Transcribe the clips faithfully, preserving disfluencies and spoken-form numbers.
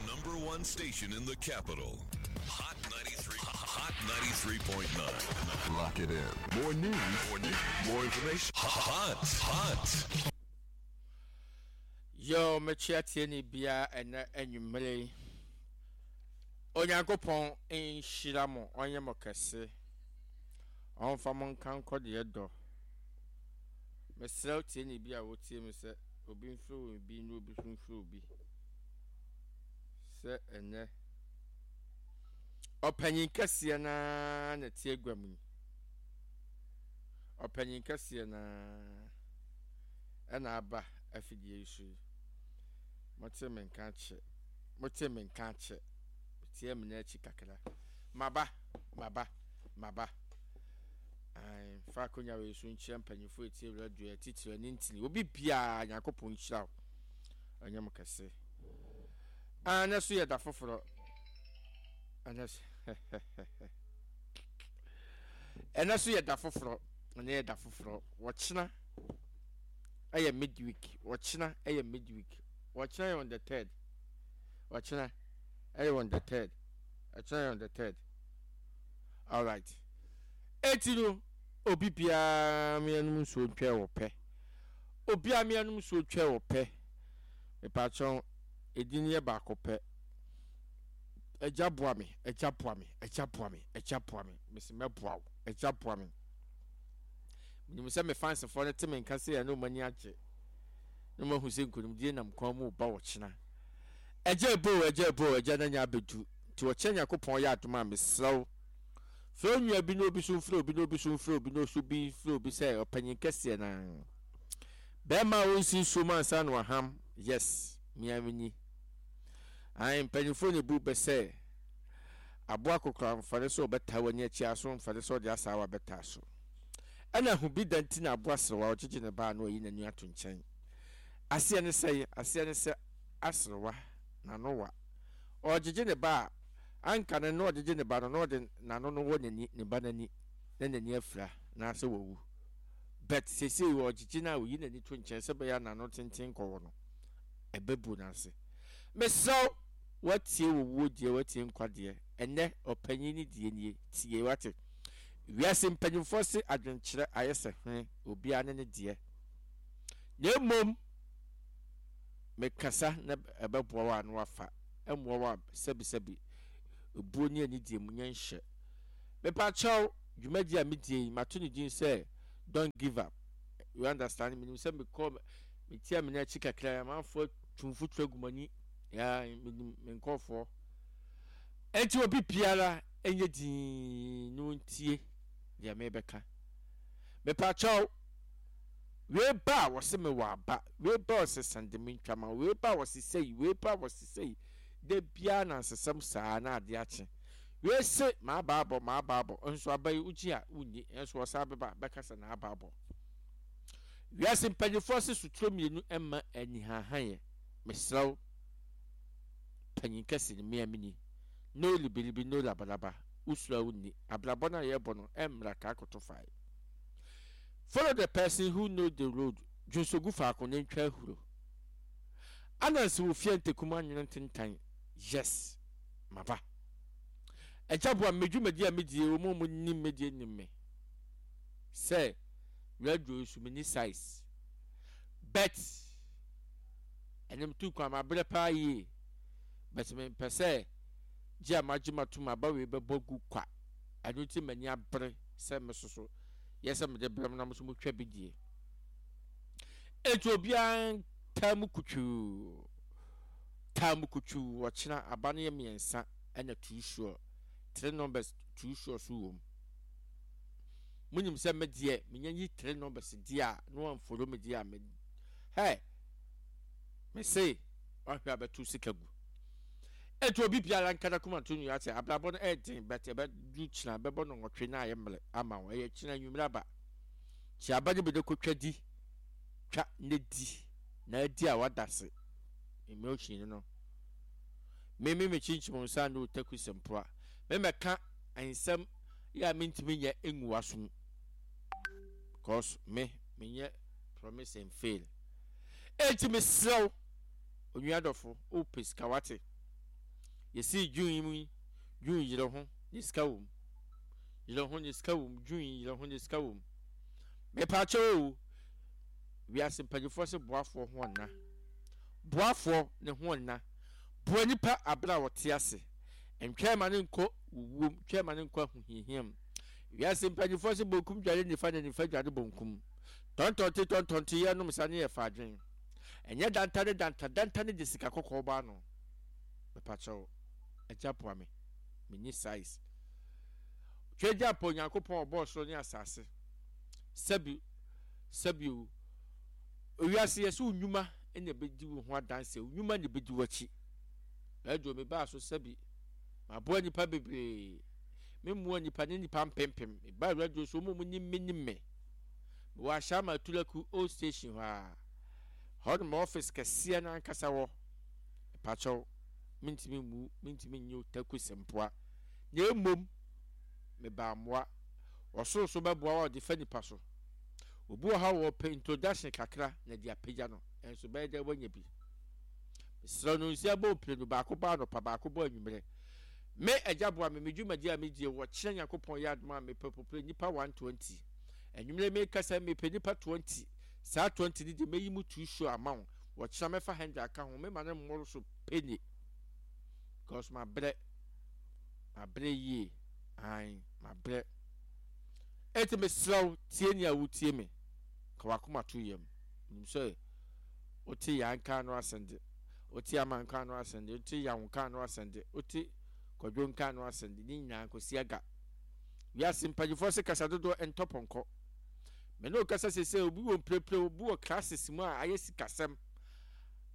number one station in the capital. Hot ninety-three, Hot ninety-three point nine. Lock it in. More news, more news, more information. Hot, hot. Yo, mekyia tie ni bia ɛnɛ anwummere yi. Onyankopɔn nhyira mo, ɔnyɛ mo kɛse. Ɔmfa mo nka nkɔ deɛ dɔ. Mesrɛ tie ni bi a wotie me sɛ obi mfiri obi na obi nso mfiri obi. Sɛ ɛnɛ ɔpanyin kɛseɛ naa na tie gua mu yi. Ɔpanyin kɛseɛ naa ɛna aba afidie yi so yi. Mote me nka akyɛ. Mote me nka akyɛ. Tie me n'akyi kakra. Maba, maba, maba. Ae, fa akonnwa wei so nkyerɛ mpanyinfoɔ etie radio atitire ne ntini. Obi biara Nyankopɔn nhyira wo. Ɔnyɛ mo kɛse. Ah, na so yɛ da foforɔ. Ɛnɛ so ɛnɛ so yɛ da foforɔ. Ɛnɛ yɛ da foforɔ. Wɔkyena ɛyɛ midweek. Wɔkyena ɛyɛ midweek. Wɔkyena yɛ on the third. Wɔkyena ɛyɛ on the third. Ɛkyena yɛ on the third. All right. Eti no obi biara mmiɛnum nsuo ntwɛ wɔ pɛ. Obiara mmiɛnum nsuo twɛ wɔ pɛ. Mepaakyɛw edin yɛ baako pɛ. Agya boa me, agya boa me, agya boa me, agya boa me. Mesi mɛboa wo, agya boa me. Menim sɛ me fansfoɔ no te me nka sɛ ɛno ɔmo ani agye. Na ɔmo ahu sɛ nkonimdie nam kwan mu ba ɔkyena. Agya ebo, agya ebo, agya na nya abɛdu. Nti ɔkyɛ Nyankopɔn yɛ adom a mesrɛ wo. Frɛ onua bi na obi so mfrɛ obi na obi so mfrɛ obi na oso bi mfrɛ obi sɛ ɔpanyin kɛseɛ naa. Bɛrima a ɔnsi nsuo mu ansa na waham. Yes, mea menyi. Ae, mpanyinfoɔ na ebu bɛ sɛ aboa kokora mfa ne sɛ ɔbɛtaa w'ani akyi aso mfa ne sɛ ɔde asaawa bɛtaa so. Ɛna ho bi da nti na aboa serewa ɔgyegye ne ba a na wayi n'ani ato nkyɛn. Aseɛ ne sɛn? Aseɛ ne sɛ aserewa n'ano wa. Ɔregyegye ne ba a, anka no na ɔgyegye ne ba no na ɔde n'ano no wɔ n'ani, ne ba n'ani na n'ani afira anaasɛ wawu. But seesei ɔgyegye no a oyi n'ani to nkyɛn sɛ ɛbɛyɛ a n'ano tenten nkɔwɔ no, ɛbɛbu n'ase. Mesrɛ wo, woatie owuo deɛ, woatie nkwa deɛ, ɛnnɛ ɔpanyin ne deɛ nie, tie wate. Wiase mpanyinfoɔ se adwenkyerɛ ayɛ sɛ hwene, obiara ne ne deɛ. Na mmom, mekasa na ɛbɛboa wo a na wafa, ɛmmoa wo a sɛbisɛbi, ebuo ne anidie mu nyɛ nhyɛ. Mepakyɛw, dwumadie a medie yi, mato ne din sɛ Don't Give Up. You understand? Menim sɛ mekɔ, metia me n'akyi kakra, amanfoɔ tu mfuturo agu m'ani. Ya, menim me nkurɔfoɔ. Enti obi biara nyɛ dinn na ɔntie deɛ merebɛka. Mepakyɛw, wei ba a wɔse mewɔ aba, wei ba a wɔse sɛnde me ntwa ma, wei ba a wɔse sei, wei ba a wɔse sei. Da biara nansesɛm saa na adeɛ akye. Wei se m'aba abɔ, m'aba abɔ, nso aba yi wogye a wonni, nso wɔsan bɛba bɛka sɛ n'aba abɔ. Wiase mpanyinfoɔ se soturo mmienu mma anihanhanyɛ. Mesrɛ wo, panyin kɛse no, me a mini. No libilibi, no labalaba. Wosuro a wonni. Abrabɔ no a yɛrebɔ no, ɛmmra kaa koto fae. Follow the person who know the road. Dwonso gu faako na ntwa ahuro. Ananse wɔ fie a ntakum anwene ntentan. Yes, maba. Agya boa me, me dwumadi a medie, wɔn a wɔnim me deɛ nim me. Sɛ radio yi so menni size. But ɛnɛ metu kwan mabrɛ paa yie. But mempɛ sɛ gye a magye matom aba wei bɛbɔ gu kwa. Ɛno nti m'ani abere sɛ me soso yɛ sɛ mede brɛ mo na mo nso motwa bi die. Enti obiara ntaa mu kutwuu. Taa mu kutwuu ɔkyena aba no yɛ mmiɛnsa ɛna two sure. Three numbers two sure so wɔ mu. Monim sɛ me deɛ menya yi three numbers deɛ a na wɔamfolo me deɛ a me hɛ me se wahwɛ a bɛto sika gu. Enti obi biara nka n'akoma nto nua sɛ abrabɔ no ɛyɛ den but ɛbɛdu kyena bɛbɔ no nwɔtwe na ayɛ mmerɛ ama wo. Ɛyɛ kyena anwummerɛ aba. Kyi aba no bi de kɔtwa di twa ne di na adi a wada se emotion no me me mekyinkyim nsa ne otaku sɛmpoa me mɛka nsɛm yɛ a mentumi nyɛ ngu w'asom because me menyɛ promise and fail. Enti mesrɛ wo onua dɔfo wopɛ sika wate Yɛsii June yi mu yi, June yere ho ne sika wɔ mu. Yere ho ne sika wɔ mu. June yi yere ho ne sika wɔ mu. Mepaakyɛw o, wiase mpanyinfoɔ se boafoɔ ho ɔnna. Boafoɔ ne ho ɔnna. Boa nipa abere a wɔte ase. Ntwɛn ma ne nkɔ wuwuom, twɛn ma ne nkɔ ahohiahia mu. Wiase mpanyinfoɔ se bonkum dware nifa na nifa dware bonkum. Tɔntɔnte tɔntɔnte yɛ nom sa ne yɛ fa adwen. Ɛnyɛ danta ne danta, danta ne de sika kɔkɔɔ bɔ ano. Mepakyɛw, agya boa me. Menni size. Twagya pa Onyankopɔn ɔbɔɔ soro ne asase. Sɛbi, sɛbi o. Owiase yɛ sɛ wo nnwuma na ebedi wo ho adanse, wo nnwuma na ebedi w'akyi. Radio me baa so sɛbi, maboa nnipa bebree. Me mmoa nnipa ne nnipa mpempem. Me baa radio so, wɔn a wɔnim me nim me. Mewɔ Ashaiman Atulaku Old Station hɔ a. Hɔ no ma office kɛseɛ no ankasa wɔ. Mepakyɛw, mentumi mmu, mentumi nnye otaku sempoa. Na mmom, mebaa mmoa. Ɔsoro so bɛboa wo a ɔde fa nipa so. Obi wɔ ha wɔpɛ introduction kakra na de apagya no, ɛnso bɛyɛ dɛ wanya bi. Mesrɛ no nsia bɔ mprenu, baako bɔ anɔpa, baako bɔ anwummerɛ. Me agya boa me, me dwumadi a medie wɔ kyerɛ Nyankopɔn yɛ adom a mepɛ popere nipa one twenty. Anwummerɛ mekasa mepɛ nipa twenty. Saa twenty no deɛ mɛyi mu two show ama wo. Wɔkyerɛ mɛfa hundred aka ho, mema no mmoro so penny. Because mabrɛ, mabrɛ yie, ae, mabrɛ. Enti mesrɛ wo, tie nea wotie me, ka w'akoma to yam. Nim sɛ wote yan nka ano asɛnde, wote ama nka ano asɛnde, wote yaw nka ano asɛnde, wote kwadwo nka ano asɛnde, ne nyinaa nkosi aga. Wiase mpanyinfoɔ se kasa dodoɔ ntɔ pɔnkɔ. Me ne wo kasa sese, obi wɔ mprepre, obi wɔ classes mu a ayɛ sikasɛm.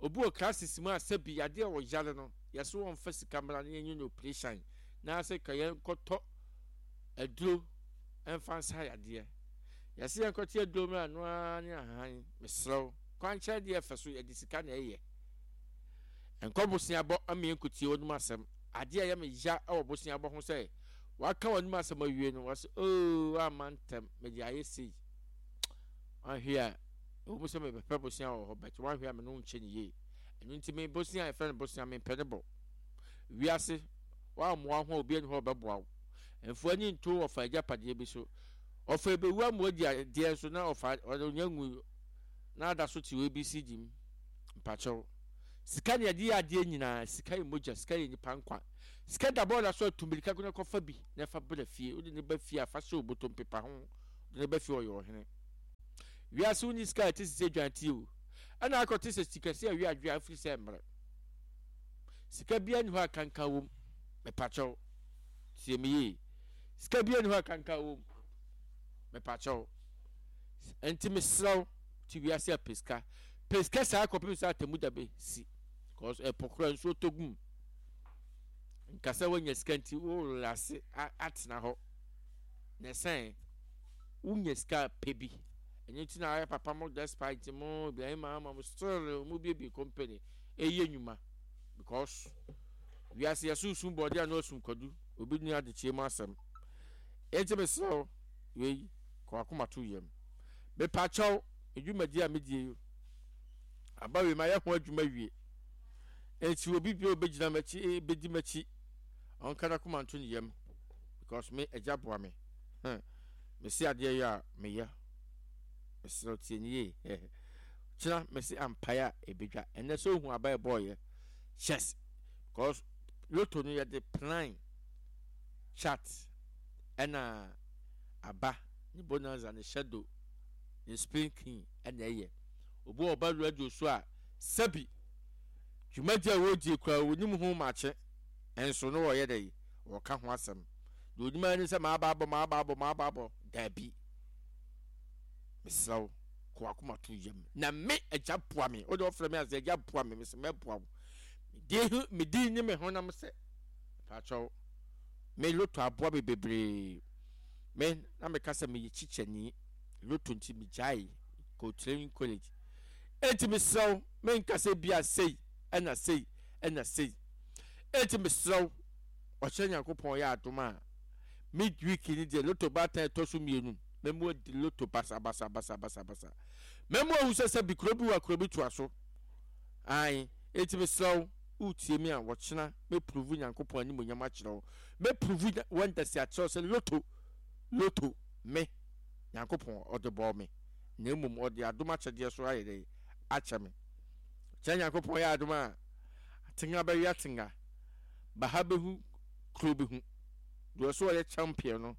Obi wɔ classes mu a sɛbi yadeɛ a ɔyare no, yɛso wɔmfa sika mmra na yɛnyɛ no operation. Na sɛ ka yɛnkɔtɔ aduro mfa nsa yadeɛ. Yɛse yɛnkɔte aduro mmra no ara ne ahan. Mesrɛ wo, kwankyerɛ deɛ ɛfɛ so yɛde sika na ɛyɛ. Nkɔ boseabɔ ama yɛnkɔtie w'anom asɛm. Adeɛ a ɛyɛ me ya wɔ boseabɔ ho sɛ waka w'anom asɛm awie no, wɔse oo amma ntɛm mede ayɛ sei. Wanhwɛ a ɛwɔ mu sɛ mebɛpɛ bosea wɔ hɔ, but wanhwɛ a me ne wo nkyɛ ne yie. Ɛno nti me bosea a yɛfrɛ no bosea mempɛ ne bɔ. Wiase woammoa ho a obi ani hɔ a ɔbɛboa wo. Mfa w'ani nto ɔfa agyapadeɛ bi so. Ɔfa ɛbɛwu ama wadi adeɛ nso na ɔfa ɔnya nwu na ada so te A B C D mu. Mpakyɛw. Sika ne yɛde yɛ adeɛ nyinaa. Sika yɛ mogya, sika yɛ nipa nkwa. Sika da bɔɔla so a tu mmirika ko na kɔfa bi na ɛfa bra fie. Wode ne ba fie a fa hyɛ obotom pepa ho. Wode ne ba fie ɔyɛ ɔhene. Wiase wonni sika a ɛte sɛ dwantie o. Ɛna akɔte sɛ sikɛse a wi adwe a afiri sɛ mmerɛ. Sika biara ni hɔ a kankan wom. Mepakyɛw. Tie me yie. Sika biara ni hɔ a kankan wom. Mepakyɛw. Nti mesrɛ wo, te wiase a pɛ sika. Pɛ sika saa kɔpem sɛ atemu da bɛsi. Because ɛpo kora nsuo tɔ gum. Nkasa woanya sika nti wo relax atena hɔ. Na ɛsɛn wonya sika pɛ bi. Ɛno nti na ayɛ papa mo despite mo Ibrahim Mahama mo still mo biebie company ɛyɛ nnwuma because wiase yɛso sum bɔɔde a na ɔsum kwadu obi ni adekyee mu asɛm. Enti mesrɛ wo, wei kɔ akoma to yam. Mepakyɛw, edwumadi a medie yi aba wei mayɛ ho adwuma wie. Enti obi bi a obɛgyina m'akyi bɛdi m'akyi ɔnka n'akoma nto ne yam because me agya boa me. Hmm. Mesi adeɛ yɛ a meyɛ. Mesrɛ wo tie ne yie. Kyena mesi ampaeɛ a ɛbɛdwa. Ɛnɛ sɛ ohu aba ɛbɔɔyɛ. Yes. Because lotto no yɛde plan chart ɛna aba ne bonanza ne shadow ne spin king ɛna ɛyɛ. Obi wɔ ɔba radio so a sɛbi dwumadi a wɔredie koraa wɔnim ho makye ɛnso no wɔyɛ dɛ wɔka ho asɛm. Deɛ onim ara ne sɛ maaba abɔ maaba abɔ maaba abɔ daabi. Mesrɛ wo, kɔ w'akoma to yam na me agya boa me. Wode ɔfrɛ me ase agya boa me, mesɛ mɛboa wo. Medi medi ne me honam sɛ paakyɛw me lotto aboa me bebree. Me na meka sɛ meyɛ kyikyɛni lotto nti megyae kɔ training college. Enti mesrɛ wo, menka sɛ bia sei ɛna sei ɛna sei. Enti mesrɛ wo, ɔkyerɛ Nyankopɔn yɛ adom a midweek ni deɛ lotto baatan ɛtɔ so mmienu mɛmu adi lotto basa basa basa basa basa. Mɛmu ahu sɛ sɛ bi kuro bi wɔ kuro bi toa so. Ae, enti mesrɛ wo, Wotie me a, wɔkyena mɛprove Nyankopɔn animuonyam akyerɛ wo. Mɛprove wonders akyerɛ wo sɛ lotto, lotto, me, Nyankopɔn, ɔde bɔɔ me. Na mmom ɔde adom akyɛdeɛ so ayɛ dɛn? Akyɛ me. Kyerɛ Nyankopɔn yɛ adom a, atenga bɛwe atenga, baha bɛhu, kuro bɛhu. Deɛ ɔsɛ ɔyɛ champion no,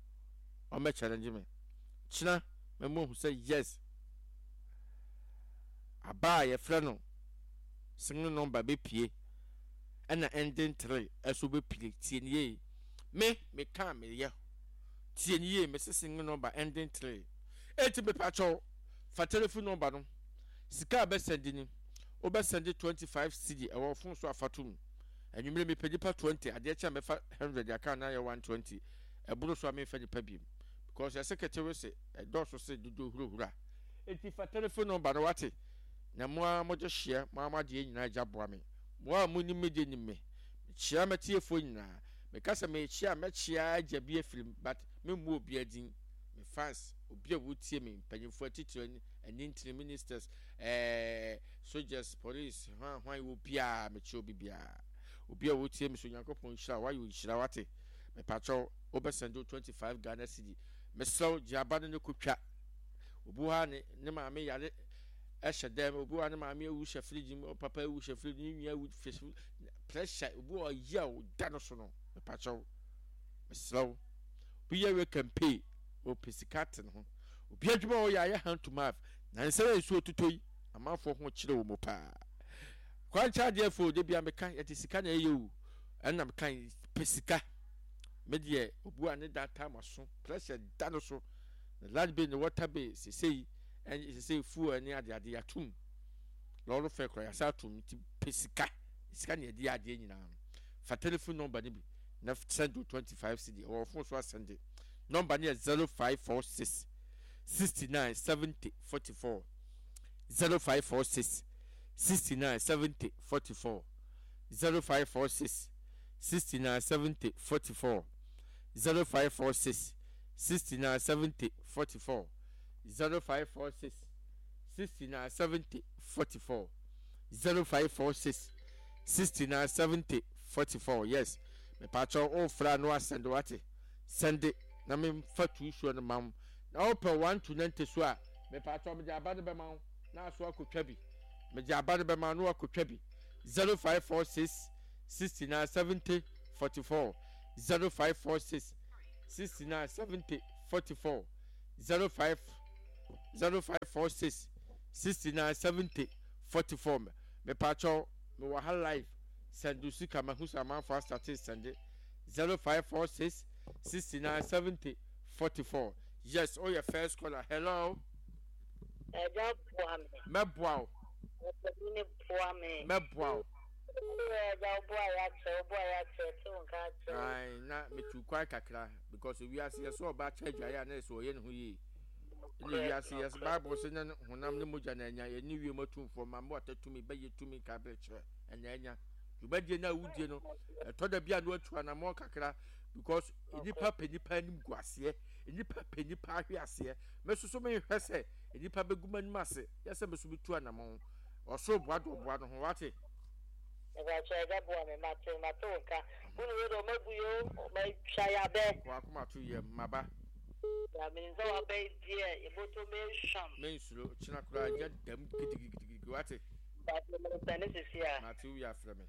ɔmmɛ challenge me. Kyena mɛma wahu sɛ yes, aba a yɛfrɛ no single number bɛpue ɛna ending three ɛso bɛpue. Tie ne yie, me meka a meyɛ. Tie ne yie, mese single number ending three. Enti mepakyɛw, fa telephone number no, sika a bɛsɛnde ni, wobɛsɛnde twenty five cedi ɛwɔ phone so afa tom. Anwummere mepɛ nipa twenty, adeɛ kyɛ a mɛfa hundred aka na ayɛ one twenty. Ɛboro so a memfa nipa biem because yɛse ketewe se ɛdɔɔso se dodo hurahura. Enti fa telephone number no, wate? Na mo ara mogye hyeɛ, mo ara mo adeɛ nyinaa agya boa me. Mo a monim me deɛ nim me. Mekyea m'atiefoɔ nyinaa. Meka sɛ merekyea a, mɛkyea agya bi afiri mu, but memmɔ obiara din. Me fans, obi a wotie me, mpanyinfoɔ atitire, anintini, ministers, eh, soldiers, police, hwan hwan, obiara, mekyea obi biara. Obi a wotie me so, Onyankopɔn nhyira wo, wayɛ nhyira, wate? Mepakyɛw, wobɛsɛnde wo twenty five Ghana cedi. Mesrɛ wo, gye aba no ne kotwa. Obi wɔ ha ne ne maame yare ɛhyɛ dɛm, obi wɔ ha ne maame awu hyɛ fridge mu, papa awu hyɛ fridge, ne nua awu hyɛ fridge, pressure, obi wɔ ɔyɛ a ɔda no so no, mepakyɛw, mesrɛ wo. Obi yɛ wɛ campaign, ɔpɛ sika ate ne ho. Obi adwuma a ɔyɛ ayɛ hand to mouth, na nsɛ yɛ nsuo totɔ yi, amanfoɔ ho kyerɛ wɔ mu paa. Kwankyɛn adeɛ fo, de bia meka, yɛde sika na ɛyɛ o, ɛna meka pɛ sika. Me deɛ, obi a ne da time aso, pressure da no so. Na light bill ne water bill sesei ɛne sesei fuel ne ade ade yɛatom, lɔre fɛ koraa yɛasa atom, nti pɛ sika, sika na yɛde yɛ adeɛ nyinaa no. Fa telephone number no bi na send wo twenty five cedi ɛwɔ phone so asɛnde. Number no yɛ zero five four six sixty nine seventy forty four, zero five four six sixty nine seventy forty four, zero five four six sixty nine seventy forty four, zero five four six sixty nine seventy forty four, zero five four six sixty nine seventy forty four, zero five four six sixty nine seventy forty four. Yes, mepatwɛ wofra no asɛnde, wate? Sɛnde na memfa tu suo no ma wo. Na wopɛ one to ninety so a, mepatwɛ mede aba no bɛma wo na aso akotwa bi. Mede aba no bɛma wo na wakotwa bi. zero five four six sixty nine seventy forty four, zero five four six sixty nine seventy forty four, zero five zero five four six sixty nine seventy forty four. Mepatwɛ mewɔ ha live, sɛnde sika, mahu sɛ amanfoɔ asate sɛnde. Zero five four six sixty nine seventy forty four. Yes, oh, first caller, hello. Ɛgya boa me. Mɛboa wo. Ɔpanin boa me. Mɛboa wo. Ɛgya woboa yɛ akyɛ, woboa yɛ akyɛ, te wo nka akyɛ. Ae, na metu kwan kakra because wiase yɛ sɛ ɔba kyɛ adwaeɛ a na ɛsɛ ɔyɛ ne ho yie. Ɛne wiase yɛ sɛ Bible sɛ nyɛ honam ne mogya na anya, yɛne wiem atumfoɔ ma mmoata tumi bɛyɛ tumi ka berɛ kyerɛ ɛna anya. Dwumadie no a wodie no, ɛtɔ da bi a na watu anammɔn kakra because nnipa pɛ nnipa anim gu aseɛ, nnipa pɛ nnipa ahwe aseɛ. Me nso so menhwɛ sɛ nnipa bɛgu m'anim ase, yɛ sɛ me nso metu anammɔn. Ɔsoro boa de ɔboa no ho, wate? Mepakyɛ agya boa me, mate, mate wo nka. Wo ne wei de ɔma bu yo, ɔma twa yabɛ. Wakoma to yam, maba. Ya menim sɛ waba yi deɛ, yɛbɔtɔ mehwam. Mensuro, kyena koraa gya dam gidigidigidi, wate? Mate, mesɛne sisi a. Mate, wowie afrɛ me.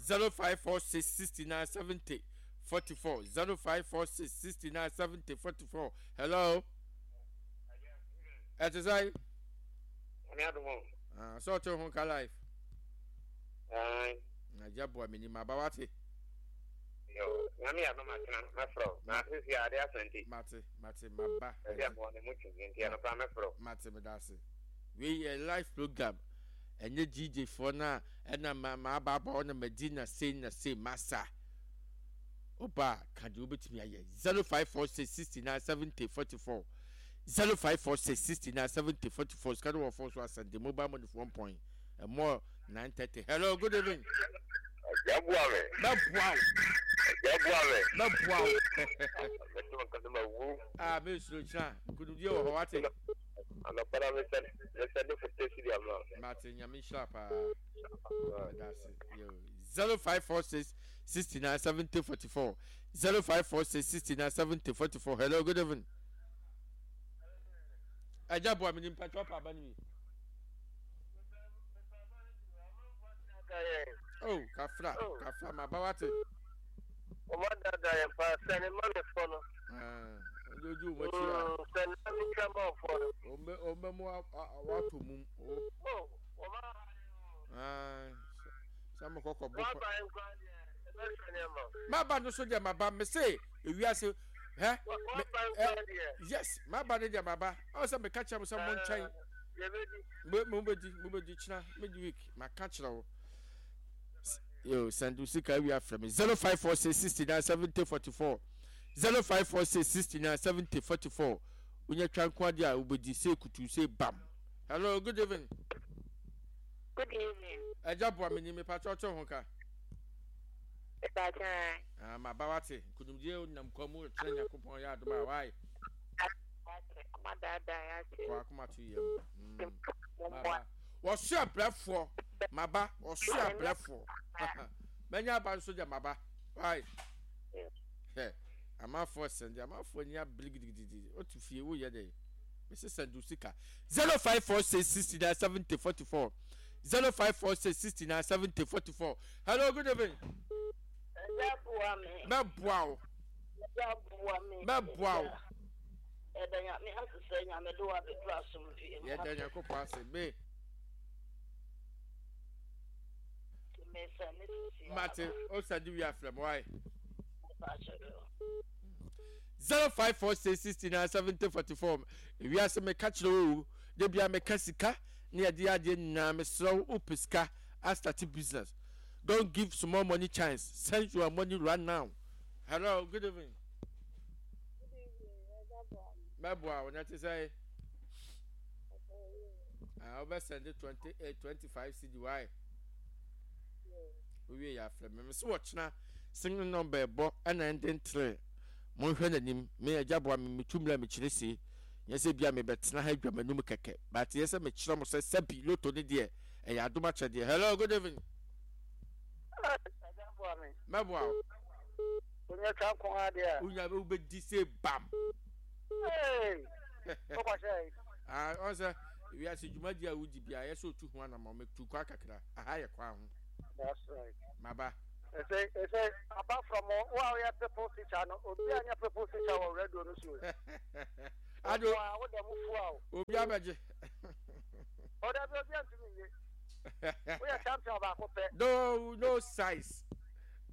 zero five four six sixty nine seventy forty four, zero five four six sixty nine seventy forty four. Hello. Ɛte sɛ? Nyame adom o. Ah, sɛ ɔte ho ka life. Aye. Na gya boa me nim aba, wate? Yo, Nyame adom atena mɛfrɛ wo. Na sisi ade asante. Mate, mate, maba. Ɛbi aboa ne mu twinti nti ɛno koraa mɛfrɛ wo. Mate, meda ase. Wei yɛ live program. Ɛnyɛ D J foɔ no a ɛna ma ma aba aba hɔ na madi na sei na sei masa. Oba a ka deɛ wobɛtumi ayɛ. zero five four six sixty nine seventy forty four, zero five four six sixty nine seventy forty four. Sika no wɔ phone so asɛnde mobile money for one point ɛmɔ nine thirty. Hello, good evening. Ɛgya boa me. Mɛboa wo. Ɛgya boa me. Mɛboa wo. Mɛtɔ nkasa ma wu. Ah, mesuro kyena nkunimdie wɔ hɔ, wate? Anɔpa na mesɛ mesɛ de fifty cedi ama wo. Mate, Nyame nhyira paa. That's it. Yo. Zero five four six sixty nine seventy forty four. Zero five four six sixty nine seventy forty four. Hello, good evening. Ẹja bu ami ni mpatwa pa aba ni mi. Oh, kafra, kafra, ma ba wate. Ọmọ dada yẹn pa sẹni mọ́mi fọ́ no. Ah, ojú ojú wọn akyi a. Sẹni mọ́mi twa mọ́ fọ́ no. Ɔmbɛ ɔmbɛ mu wato mum. Oh, ọmọ Ah, sɛ mo kɔkɔ bɔ. Wọ́n bá yẹn kọ́ adìẹ, ẹ bẹ́ sẹ́ni ẹ̀ mọ́. Maba no so deɛ maba me se ewiase hɛ. Wọ́n bá yẹn kọ́ adìẹ. Yes, maba ne deɛ maba. Ɔwɔ sɛ meka kyerɛ mo sɛ mo nkyɛn. Yɛbɛdi. Mo mo bɛdi mo bɛdi kyina mid week maka kyerɛ wo. Yo, send wo sika wi afrɛ me zero five four six sixty nine seventy forty four zero five four six sixty nine seventy forty four. Wonya twa nko adeɛ a wobɛdi sɛ kutu sɛ bam. Hello, good evening. Good evening. Ɛgya boa me ni mepa kyɛw ho ka. Ìbàdàn. Ah, maba wate. Nkonimdie nam kwa mu kyerɛ Nyankopɔn yɛ adom a wae. Ọmọ dáadáa yà ti. Kɔ akoma to yam. Mm. Maba. Wɔso abrɛfoɔ. Maba, wɔso abrɛfoɔ. Mɛnya aba nso deɛ maba. Wae. Hɛ, amanfoɔ sɛnde, amanfoɔ ni abere gidigidi. Wotu fie, woyɛ dɛ. Mesi sɛnde sika. Zero five four six sixty nine seventy forty four. Zero five four six sixty nine seventy forty four. Hello, good evening. Ẹja bua mi. Mɛboa wo. Ẹja bua mi. Mɛboa wo. Ẹ̀dá nyame asesɛ nyame de wa bɛduru asomdwie mu. Yɛda Nyankopɔn ase. Me. Mesa ne sisi. Mate, o sɛnde wi afrɛ mo wae. Zero five four six sixty nine seventy forty four. Ewiase meka kyerɛ wo o. De bia meka sika ne yɛde adeɛ nyinaa mesrɛ wo wopɛ sika a start business. Don't give small money chance. Send your money right now. Hello, good evening. Mɛboa wo na te sɛ ah wobɛ send twenty eight twenty five cedi wae. Wowie yɛ afrɛ me. Mese wɔkyena single number ɛbɔ ɛna ɛnde ntere. Monhwɛ n'anim. Me agya boa me metu mmerɛ mekyerɛ sie. Nyɛ sɛ bia mebɛtena ha adwa m'anum kɛkɛ. But yɛ sɛ mekyerɛ mo sɛ sɛbi loto ne deɛ ɛyɛ adom akyɛdeɛ. Hello, good evening. Ẹja bua mi. Mɛboa wo. Onye twa nko adeɛ a. Wonya wobɛdi sɛ bam. Ee! Wokɔhyɛ yi. Ah, ɔn sɛ wiase dwumadi a wodi bia yɛ sɛ otu ho anamɔ metu kwa kakra. Aha yɛ kwa ho. That's right. Maba. Ɛsɛ ɛsɛ apart from wo a woyɛ people teacher no, obi a nyɛ people teacher wɔ radio no so. Ado Wo a wo dɛm fu a o. obi abɛgye. Ɔda bi obi antumi nye. Woyɛ champion baako pɛ. No, no size.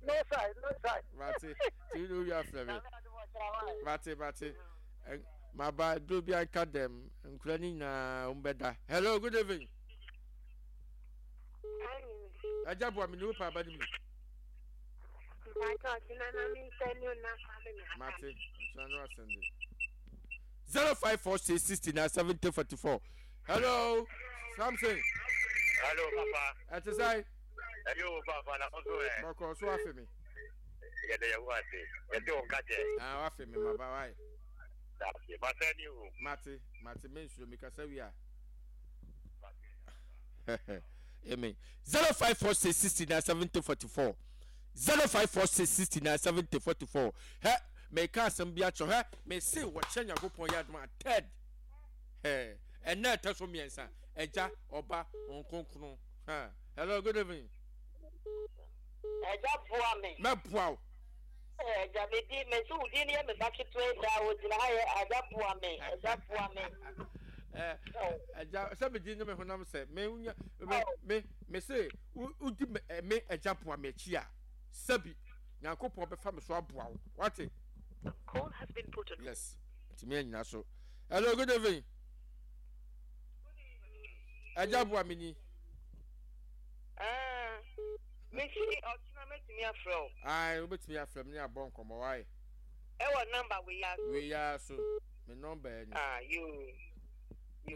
No side, no side. Mate, ti no wi afrɛ me. Nyame adom ɔkyerɛ wa. Mate, mate. Ɛn- Maba duro bi anka dɛm. Nkura ne nyinaa wɔn bɛda. Hello, good evening. Agya boa me ne wo pa aba ne mu. Ìbàdàn ọ̀sìn náà mi ń sẹ́ni ọ̀nà fámi mi. Mate, ɔkyerɛ no asɛnde. Zero five four six sixty nine seventy forty four. Hello, Samson. Hello papa. Ɛte sɛ Ɛyɛ o papa na ɔso ɛ. bɔkɔ so afe me. Yɛde yɛ wo ase. Yɛde wo nka kyɛ. Ah, wafe me maba wae. Dase. Masɛ ni o. Mate, mate me nsuro mi kasa wi a. Amen. Zero five four six sixty nine seventy forty four. Zero five four six sixty nine seventy forty four. Hɛ, mɛka asɛm bi akyerɛ hɛ, mɛse wɔkyɛ Nyankopɔn yɛ adom a third. Hɛ, ɛnna ɛtɛ so mmiɛnsa. Ɛgya, ɔba, nkonkron. Hɛ, hello, good evening. Ẹja bua mi. Mɛboa wo. Ẹja mi di mi si wudi ni yɛ mi ba ketewa yi daa ogyina ha yɛ ẹja bua mi ẹja bua mi. Ɛ, ɛgya, sɛ medi ne me honam sɛ, me nya, me, me, me se, wo wodi me, ɛ, me ɛgya boa me akyi a, sɛbi, Nyankopɔn bɛfa me so aboa wo. Wate? Call has been put on. Yes. Ntumi anyina so. Hello, good evening. Ɛgya boa me ni. Mesi ɔkyena mɛtumi afrɛ wo. Ayi, wobɛtumi afrɛ me ne abɔ nkɔmmɔ wae. Ɛwɔ namba wei ya so. Wei ya so. Me nɔmba yɛ ni. Ah, yoo.